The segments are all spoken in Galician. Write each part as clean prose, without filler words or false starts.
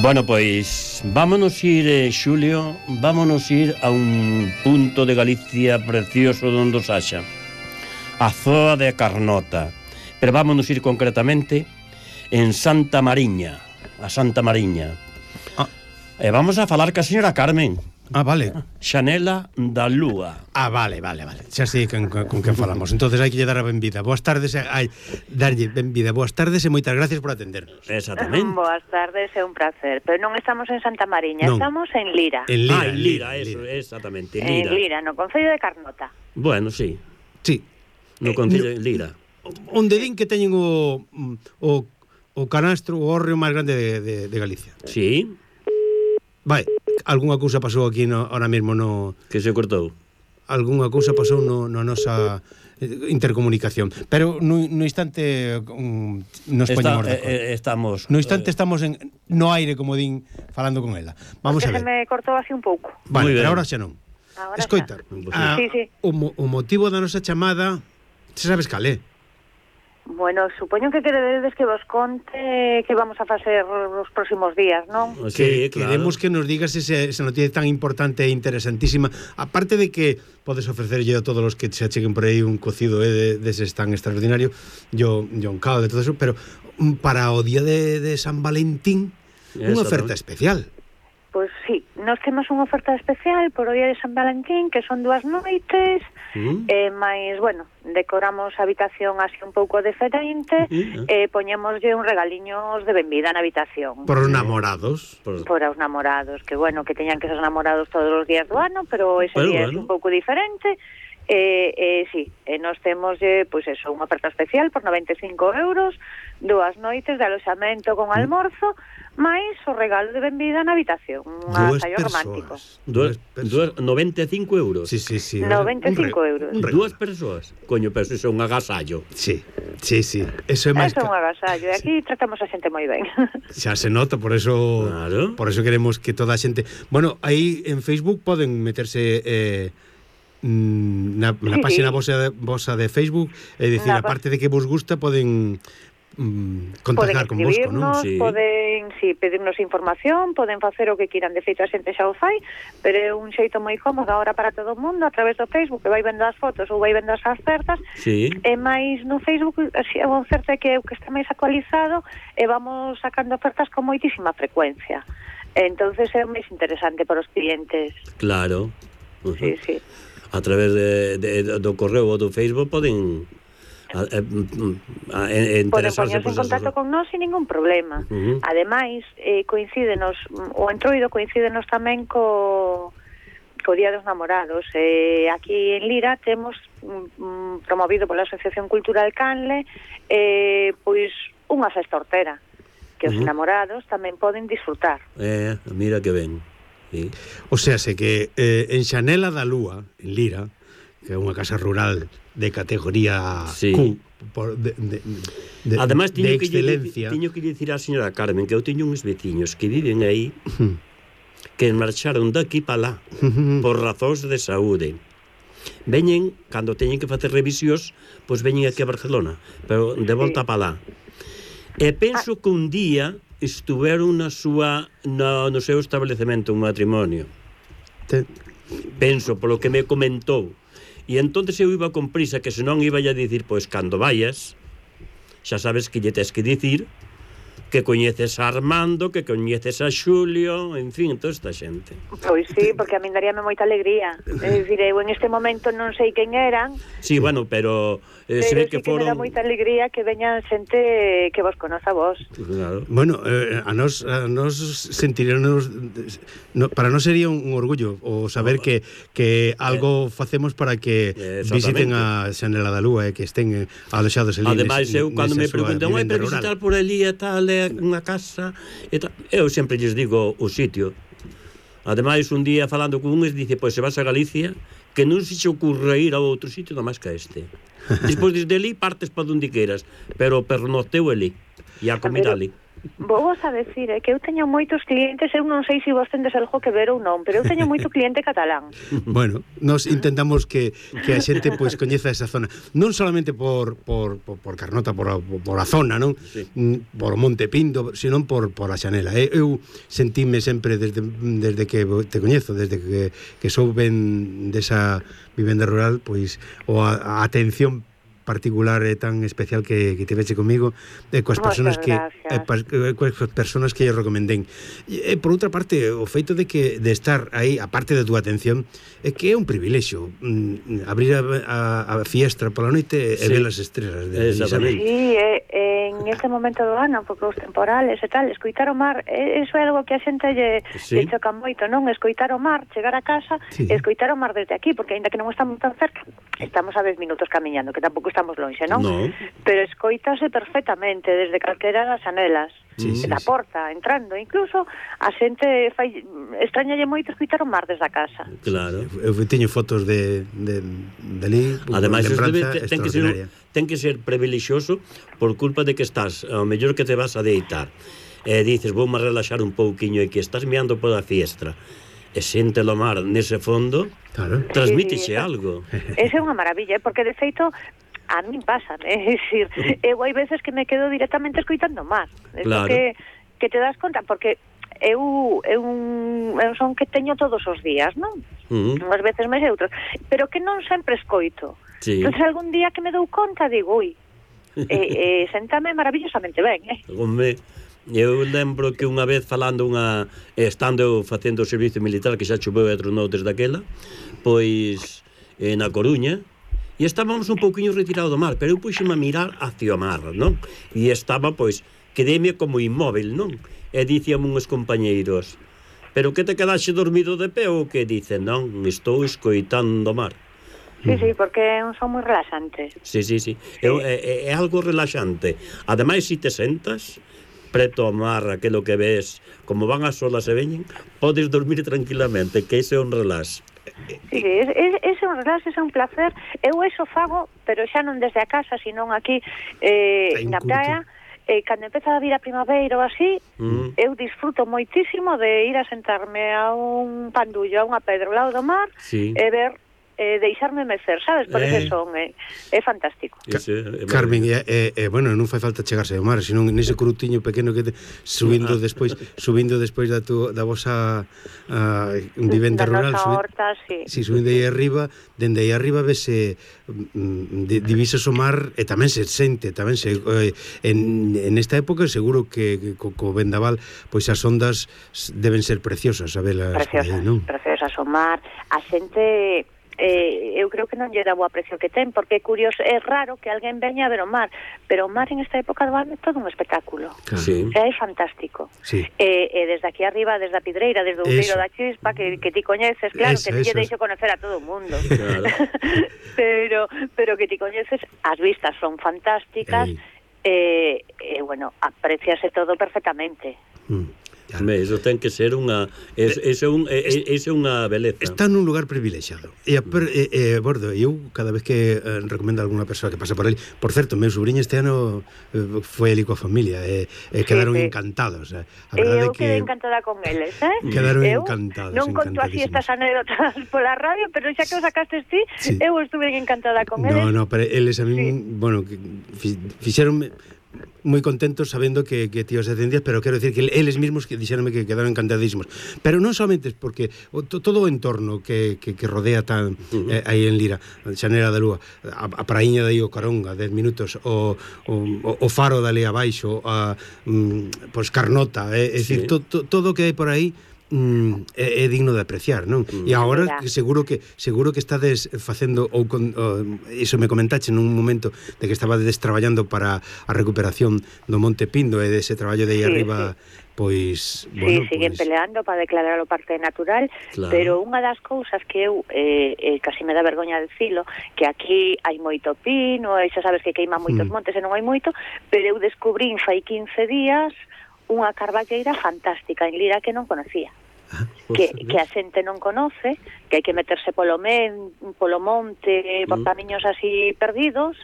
Bueno, pois vámonos ir, Xulio, vámonos ir a un punto de Galicia precioso donde os haxa, a zoa de Carnota. Pero vámonos ir concretamente en Santa Mariña, a Santa Mariña. E vamos a falar ca señora Carmen. Vale. Xanela da Lúa. Vale. Xa sei con quen falamos. Entonces hai que lle dar a benvida. Boas tardes, darlle benvida. Boas tardes e moitas gracias por atendernos. Exactamente. Boas tardes, é un placer. Pero non estamos en Santa Mariña, non. Estamos en Lira. En Lira, en Lira, eso, exactamente, Lira. En Lira, no concello de Carnota. Bueno, sí. Sí. No concello de Lira. Onde din que teñen o canastro, o hórreo máis grande de Galicia. Sí. Vai, algunha cousa pasou aquí ahora mesmo no... Que se cortou? Algunha cousa pasou no nosa intercomunicación. Pero no instante nos poñemos de acordo. Estamos... No instante estamos no aire, como din, falando con ela. Vamos a ver. Se me cortou así un pouco. Vale, pero ahora xa non. Escoita, sí. O motivo da nosa chamada, se sabes cal é? Bueno, supoño que queredes que vos conte que vamos a facer os próximos días, non? Sí, claro. Queremos que nos digas esa noticia tan importante e interesantísima. Aparte de que podes ofrecerlle a todos os que se acheguen por aí un cocido deses tan extraordinario, yo un caldo de todo eso, pero para o día de San Valentín, unha oferta especial. Pois sí, nós temos unha oferta especial por o día de San Valentín, que son 2 noites, máis, bueno, decoramos a habitación así un pouco diferente, e poñémoslle un regaliños de benvida na habitación. Por os namorados? Por os namorados, que bueno, que teñan que ser namorados todos os días do ano, pero ese día é un pouco diferente. Sí, nós temos, pois eso, unha oferta especial por 95 €, 2 noites de aloxamento con almorzo, máis o regalo de benvida na habitación, un agasallo romántico. 95 €? Sí. 95 €. 2 persoas? Coño, pero iso é un agasallo. Sí. Eso é máis... Eso é un agasallo, e aquí tratamos a xente moi ben. Xa se nota, por eso claro. Por eso queremos que toda a xente... Bueno, aí en Facebook poden meterse... na página vosa de Facebook, é dicir, aparte de que vos gusta, poden contactar con vosco, non? Poden pedirnos información, poden facer o que quieran, de feito a xente xa o fai, pero é un xeito moi cómodo agora para todo o mundo, a través do Facebook, que vai vendo as fotos ou vai vendo as ofertas, e máis no Facebook a oferta que é o que está máis actualizado, e vamos sacando ofertas con moitísima frecuencia, entonces é máis interesante para os clientes. Claro. Sí. A través do correo ou do Facebook poden poñerse en contacto con nós sin ningún problema. Ademais, coincídenos, o entroido coincídenos tamén co Día dos Namorados. Aquí en Lira temos promovido pola Asociación Cultural Canle pois unha festa hortera que os namorados tamén poden disfrutar. Mira que ben. Sí. O sea, que en Xanela da Lúa, en Lira, que é unha casa rural de categoría Q, además, de excelencia. Tiño que dicir á señora Carmen que eu teño uns veciños que viven aí que marcharon daqui para lá por razóns de saúde. Veñen, cando teñen que facer revisións, pois veñen aquí a Barcelona, pero de volta para lá. E penso que un día estuveron no seu establecemento, un matrimonio. Penso, polo que me comentou. E entonces eu iba con prisa, que senón iba a dicir, pois cando vayas, xa sabes que lle tes que dicir que coñeces a Armando, que coñeces a Xulio, en fin, toda esta xente. Pois sí, porque a min daríame moita alegría. É dicir, eu en este momento non sei quen eran. Sí, bueno, pero se ve que foron... me dá moita alegría que veñan xente que vos conoza vos. Claro. Bueno, a nos sentiríamos... para nós sería un orgullo o saber que algo facemos para que visiten a Xanela da Lúa, que estén aloxados en Lira. Ademais, eu cando me preguntan, para visitar por ali e tal, unha casa e tal, eu sempre lles digo o sitio. Ademais, un día falando con uns dice, pois se vas a Galicia, que non se che ocurre ir a outro sitio nada máis que a este. Despois desde ali partes para onde queiras, pero pernoteu ali e a comida ali. Vou vos a decir, que eu teño moitos clientes, eu non sei se vos tendes algo que ver ou non, pero eu teño moito cliente catalán. Bueno, nos intentamos que a xente pois coñeza esa zona, non solamente por Carnota, por a zona, non? Sí. Por Monte Pindo, senón por a Xanela. Eu sentime sempre desde que te coñezo, desde que sou ben desa vivenda rural, pois a atención particular e tan especial que tiveche comigo coas persoas que eu recomendei. E por outra parte, o feito de estar aí, a parte da túa atención, é que é un privilexio abrir a fiestra pola noite e ver as estrelas de Isabel. Sí, en este momento do ano, porque os temporales e tal, escoitar o mar, eso é algo que a xente lle choca moito, non? Escoitar o mar, chegar a casa e escoitar o mar desde aquí, porque aínda que non estamos tan cerca, estamos a 10 minutos camiñando, que tampouco estamos lonxe, non? No. Pero escoítase perfectamente desde calquera das anelas, da porta, entrando, incluso a xente extrañalle moito escoitar o mar desde a casa. Claro. Eu teño fotos de ali, ademais ten que ser privilexioso por culpa de que estás, ao mellor que te vas a deitar, e dices, vou me relaxar un pouquiño, e que estás meando pola fiestra, e xente lo mar nese fondo, claro, transmítiche algo. Esa é unha maravilla, porque de feito a min pasa, é dicir, eu hai veces que me quedo directamente escoitando o mar. Claro. Que te das conta, porque eu son que teño todos os días, non? Unhas veces máis e outras, pero que non sempre escoito. Entón, algún día que me dou conta, digo, ui, sentame maravillosamente ben, Home, eu lembro que unha vez falando estando facendo o servicio militar, que xa choveu e tronou desde aquela, pois na Coruña, e estábamos un pouquiño retirados do mar, pero eu puxeme a mirar hacia o mar, non? E estaba, pois, quedéme como inmóvil, non? E dicíame uns compañeiros, pero que te quedaxe dormido de pé ou que? Dicen, non, estou escoitando o mar. Sí, porque é un son moi relaxante. Sí. É algo relaxante. Ademais, se te sentas preto ao mar, aquilo que ves, como van as olas e veñen, podes dormir tranquilamente, que ese é un relax. Sí, ese é un relax, ese é un placer. Eu eso fago, pero xa non desde a casa, senón aquí na praia. Cando empeza a vir a primavera ou así, eu disfruto moitísimo de ir a sentarme a un pandullo, a unha pedra ao lado do mar, e ver, deixarme mecer, sabes? Por ese son, é fantástico. Carmen, bueno, non fai falta chegarse ao mar, senón nese crutiño pequeno que subindo despois da vosa vivenda rural, horta, subindo aí arriba, dende aí arriba vese divisas o mar e tamén se sente, en esta época seguro que co vendaval, pois as ondas deben ser preciosas, sabelas, preciosas o mar, a xente eu creo que non lle dá o aprecio que ten, porque é curioso, é raro que alguén veña a ver o mar, pero o mar en esta época do ano é todo un espectáculo. É fantástico. E desde aquí arriba, desde a Pidreira, desde o Outeiro da Chispa, que ti coñeces, claro, que ti lle deixo conocer a todo o mundo. Pero que ti coñeces, as vistas son fantásticas, e bueno, apreciase todo perfectamente. Eso ten que ser unha beleza. Está nun lugar privilexiado. Bordo, eu cada vez que recomendo a alguna persoa que pasa por ele, por certo, meu sobrinho este ano foi ali coa familia e quedaron encantados. Eu quedei encantada con eles, Quedaron encantados. Non conto así estas anécdotas pola radio, pero xa que os sacastes ti, eu estuve encantada con eles. No, pero eles a min, bueno, fixeronme moi contentos sabendo que ti os atendías, pero quero decir que eles mesmos que dixeronme que quedaron encantadísimos, pero non somente porque todo o entorno que rodea tan aí en Lira, Xanela da Lúa, a praíña de aí o Caronga, 10 minutos, o faro dali abaixo, pois Carnota, é dicir, todo o que hai por aí é digno de apreciar, non? E agora seguro que estades facendo iso me comentache nun momento de que estabades traballando para a recuperación do Monte Pindo e dese traballo de aí arriba, pois bueno, siguen peleando para declarar o parque natural, pero unha das cousas que eu casi me dá vergoña dicilo, que aquí hai moito pino, e xa sabes que queima moitos montes e non hai moito, pero eu descubrín fai 15 días unha carballeira fantástica en Lira que non conocía. Que a xente non conoce, que hai que meterse polo monte, por camiños así perdidos,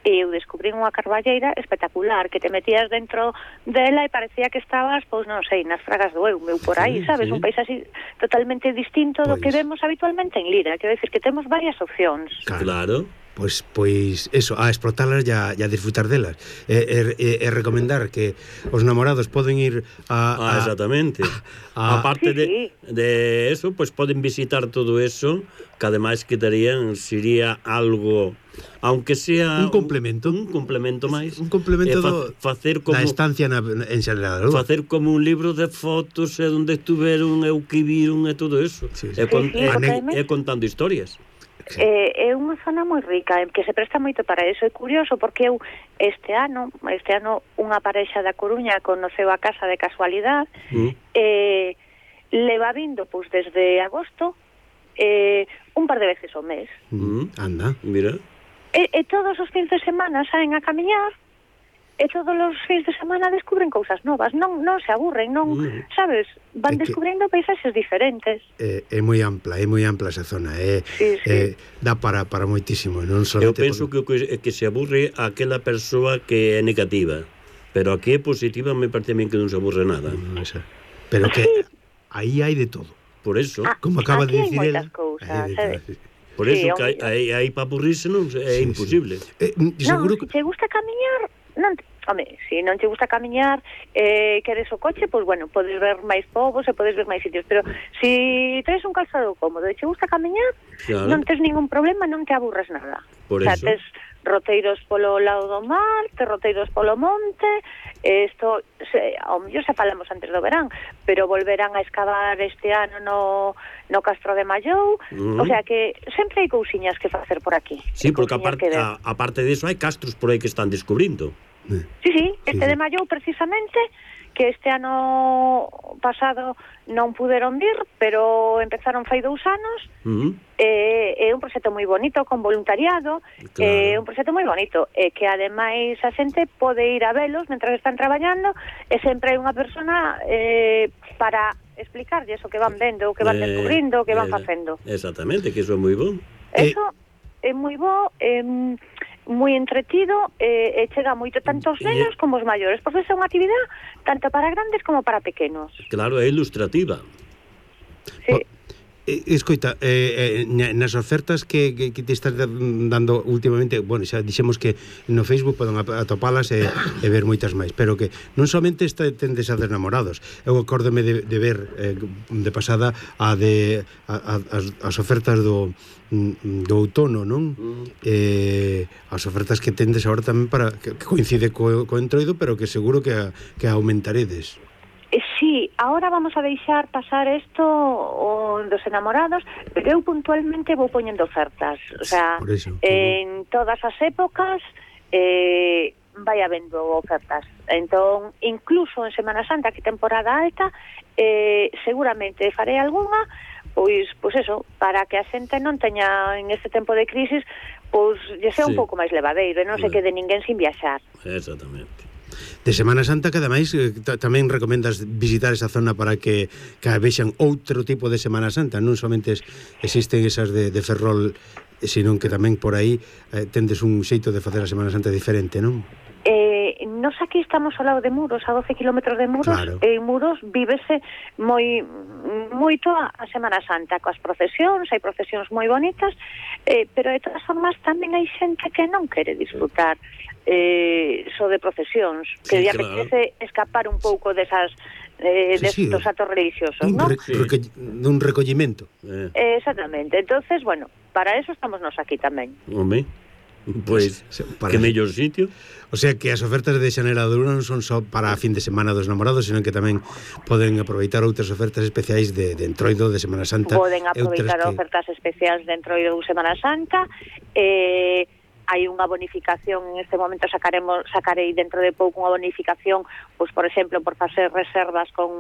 e eu descubrí unha carballeira espectacular, que te metías dentro dela e parecía que estabas, pois non sei, nas Fragas do Eume ou por aí, sabes? Un país así totalmente distinto do que vemos habitualmente en Lira. Quero decir que temos varias opcións. Claro. Pois eso, a explotalas e a disfrutar delas. E recomendar que os namorados poden ir a exactamente. Aparte de eso, pois poden visitar todo eso, que ademais quedarían, sería algo, aunque sea un complemento máis, un complemento facer como da estancia en Xalera, facer como un libro de fotos e onde estuveron e o que viron e todo eso, e contando historias. É unha zona moi rica, que se presta moito para eso. É curioso porque eu este ano unha parexa da Coruña conoceu a casa de casualidade, leva vindo pois desde agosto un par de veces ao mes. Anda, mira. E todos os fins de semana saen a camiñar, e todos os fins de semana descubren cousas novas, non se aburren, non, sabes, van descubrindo paisaxes diferentes. É moi ampla esa zona, dá para moitísimo, non só. Eu penso que se aburre aquela persoa que é negativa, pero a que é positiva me parece a mí que non se aburre nada. Pero que aí hai de todo. Por eso, como acaba de dicir ela, por eso que aí para aburrirse non é imposible. Non, se te gusta camiñar, se non te gusta camiñar, queres o coche, pois bueno, podes ver máis povos e podes ver máis sitios, pero se traes un calzado cómodo e te gusta camiñar, non tes ningún problema, non te aburres nada. Por eso. Tes roteiros polo lado do mar, tes roteiros polo monte, isto, ao mellor xa falamos antes do verán, pero volverán a excavar este ano no Castro de Mallou, o sea que sempre hai cousiñas que facer por aquí. Sí, porque aparte disso hai castros por aí que están descubrindo. Sí, este de Mallou precisamente, que este ano pasado non puderon vir, pero empezaron fai 2 anos. É un proxecto moi bonito, con voluntariado, é un proxecto moi bonito, e que ademais a xente pode ir a velos mentras están traballando, e sempre hai unha persona para explicarlles o que van vendo, o que van descubrindo, o que van facendo. Exactamente, que iso é moi bon. Eso é moi bo, moi entretido, e chega moito tanto os nenos como os maiores, porque é unha actividade tanto para grandes como para pequenos. Claro, é ilustrativa. Sí. Escoita, nas ofertas que te estás dando últimamente, bueno, xa dixemos que no Facebook poden atopalas e ver moitas máis, pero que non somente tendes a denamorados. Eu acórdome de ver de pasada as ofertas do outono, non? As ofertas que tendes agora tamén para que coincide co entroido, pero que seguro que aumentaredes. Sí, ahora vamos a deixar pasar isto dos enamorados, pero eu puntualmente vou poñendo ofertas, o sea, en todas as épocas vai habendo ofertas. Entón, incluso en Semana Santa, que temporada alta, seguramente farei algunha, pois eso, para que a xente non teña en este tempo de crisis, pois lle sea un pouco máis levadeiro, e non se quede ninguén sin viaxar. Exactamente. De Semana Santa, que ademais tamén recomendas visitar esa zona para que vexan outro tipo de Semana Santa, non somente existen esas de Ferrol, senón que tamén por aí tendes un xeito de facer a Semana Santa diferente, non? Nos aquí estamos ao lado de Muros, a 12 kilómetros de Muros, e en Muros vívese moito a Semana Santa, coas procesións, hai procesións moi bonitas, pero de todas formas tamén hai xente que non quere disfrutar só de procesións, que lle apetece escapar un pouco desas destos actos religiosos, non? Dun recollimento. Exactamente. Entonces, bueno, para eso estamos nos aquí tamén. Home, pois, que mellor sitio. O sea que as ofertas de Xanela de Luna non son só para a fin de semana dos namorados, senón que tamén poden aproveitar outras ofertas especiais de Entroido, de Semana Santa. Poden aproveitar ofertas especiais de Entroido de Semana Santa. Hai unha bonificación, en este momento sacarei dentro de pouco unha bonificación, pois por exemplo, por facer reservas con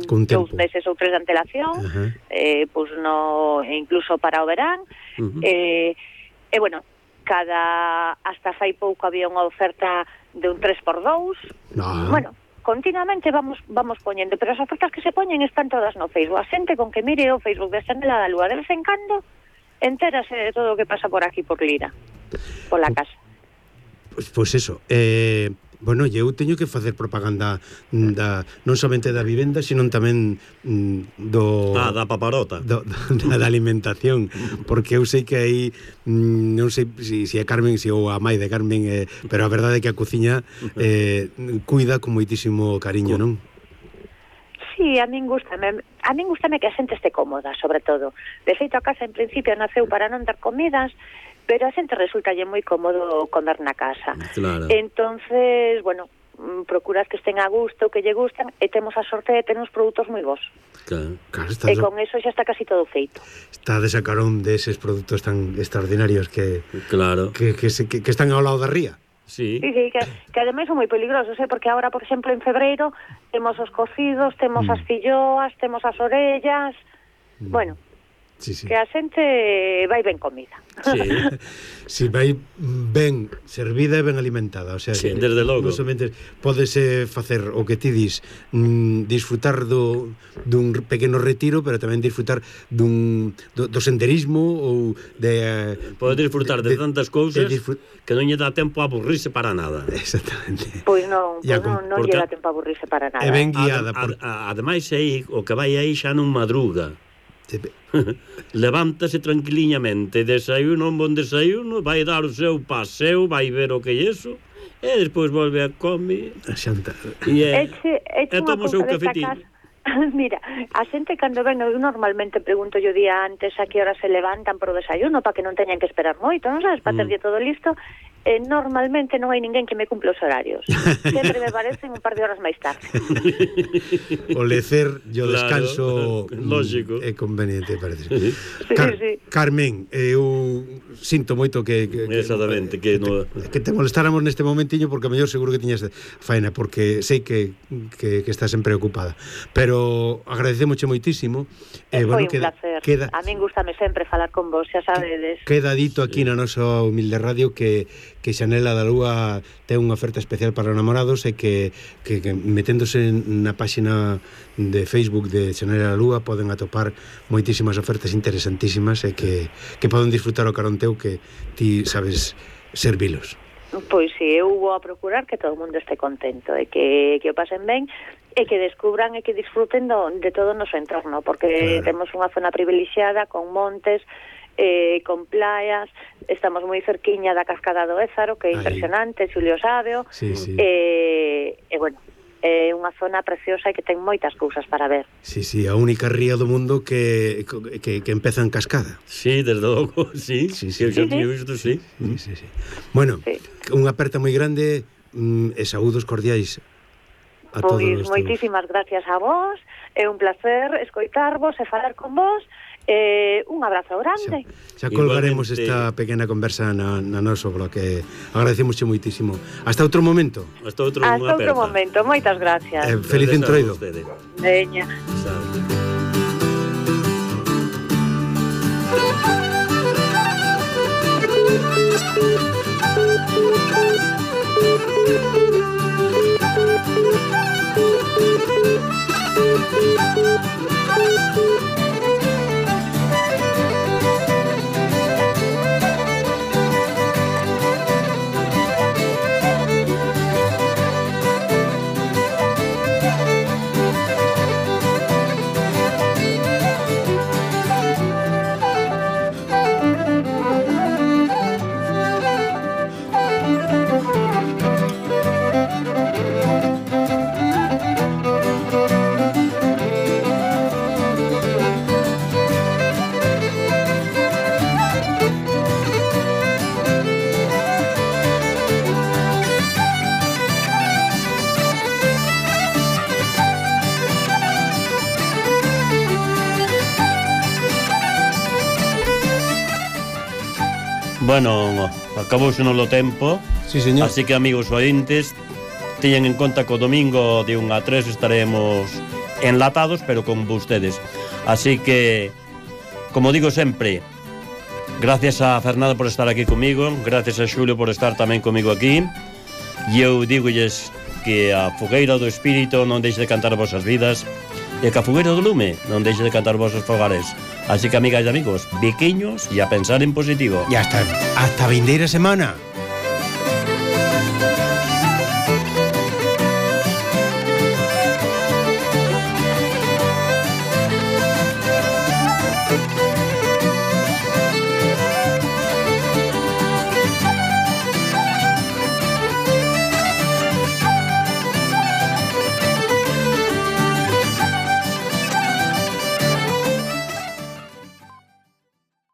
2 meses ou 3 de antelación, pois incluso para o verán. E bueno, hasta fai pouco había unha oferta de un 3x2. Bueno, continuamente vamos poñendo, pero as ofertas que se poñen están todas no Facebook. A xente con que mire o Facebook de Xanela da Lúa de vez en cando entérase de todo o que pasa por aquí por Lira, por la casa. Pois eso, bueno, eu teño que facer propaganda non somente da vivenda, sino tamén da paparota, da alimentación, porque eu sei que aí non sei se é Carmen, se ou a mãe de Carmen, pero a verdade é que a cociña cuida con moitísimo cariño, non? Sí, a min gustame que a xente este cómoda, sobre todo. De feito, a casa en principio naceu para non dar comidas, pero a xente resulta moi cómodo comer na casa. Claro. Entonces, bueno, procuras que estén a gusto, que lle gustan, e temos a sorte de ter uns produtos moi bons. Claro. E con eso xa está casi todo feito. Está de sacarón deses produtos tan extraordinarios que están ao lado da ría. Sí, que ademais son moi peligrosos, porque agora, por exemplo, en febreiro temos os cocidos, temos as filloas, temos as orellas, bueno, que a xente vai ben comida. Si vai ben servida e ben alimentada, o sea, que desde logo. Non somente podese facer o que ti dis, disfrutar dun pequeno retiro, pero tamén disfrutar do senderismo ou de poder disfrutar de tantas cousas que non lle dá tempo a aburrirse para nada. Exactamente. Pois non lle dá tempo a aburrirse para nada. É ben guiada. Ademais, o que vai aí xa non madruga. Levántase tranquiliñamente, desayuno, un bon desayuno, vai dar o seu paseo, vai ver o que é iso, e despois volve a comer e toma o seu cafetín. Mira, a xente cando ven, eu normalmente pregunto yo día antes a que hora se levantan pro desayuno para que non teñan que esperar moito, non sabes, para terlle todo listo. Normalmente non hai ninguén que me cumpla os horarios. Sempre me parecen un par de horas máis tarde. O lecer e o descanso lógico é conveniente, parece. Carmen, eu sinto moito que exactamente que te molestáramos neste momentiño, porque a mellor seguro que tiñas faena, porque sei que estás sempre ocupada, pero agradecemos moitísimo. Foi un placer. A min gústame sempre falar con vos, xa sabedes. Queda dito aquí na nosa humilde radio que Xanela da Lúa ten unha oferta especial para namorados e que meténdose na páxina de Facebook de Xanela da Lúa poden atopar moitísimas ofertas interesantísimas e que poden disfrutar o caronteo que ti sabes servilos. Pois si, eu vou a procurar que todo o mundo este contento e que o pasen ben e que descubran e que disfruten de todo o noso entorno, porque temos unha zona privilexiada con montes, con playas, estamos moi cerquiña da cascada do Ézaro, que é impresionante, Xulio Sábeo, e bueno, é unha zona preciosa e que ten moitas cousas para ver. Sí, a única ría do mundo que empeza en cascada. Sí, desde logo, sí. Bueno, unha aperta moi grande e saúdos cordiais a todos. Pois moitísimas gracias a vos, é un placer escoitarvos e falar con vos. Un abrazo grande. Xa colgaremos esta pequena conversa na noso blog, que agradecemos moitísimo. Hasta outro momento. Hasta outro momento, moitas gracias. Feliz entroido. Veña. Bueno, acabouse no tempo. Sí, señor. Así que, amigos ointes, teñen en conta que o domingo de 1 a 3 estaremos enlatados, pero con vostedes. Así que, como digo sempre, gracias a Fernando por estar aquí comigo, gracias a Xulio por estar tamén comigo aquí, e eu digolles que a fogueira do espírito non deixe de cantar as vosas vidas, e que a fogueira do lume non deixe de cantar os vosos fogares. Así que, amigas e amigos, biquiños e a pensar en positivo. E hasta vindeira semana.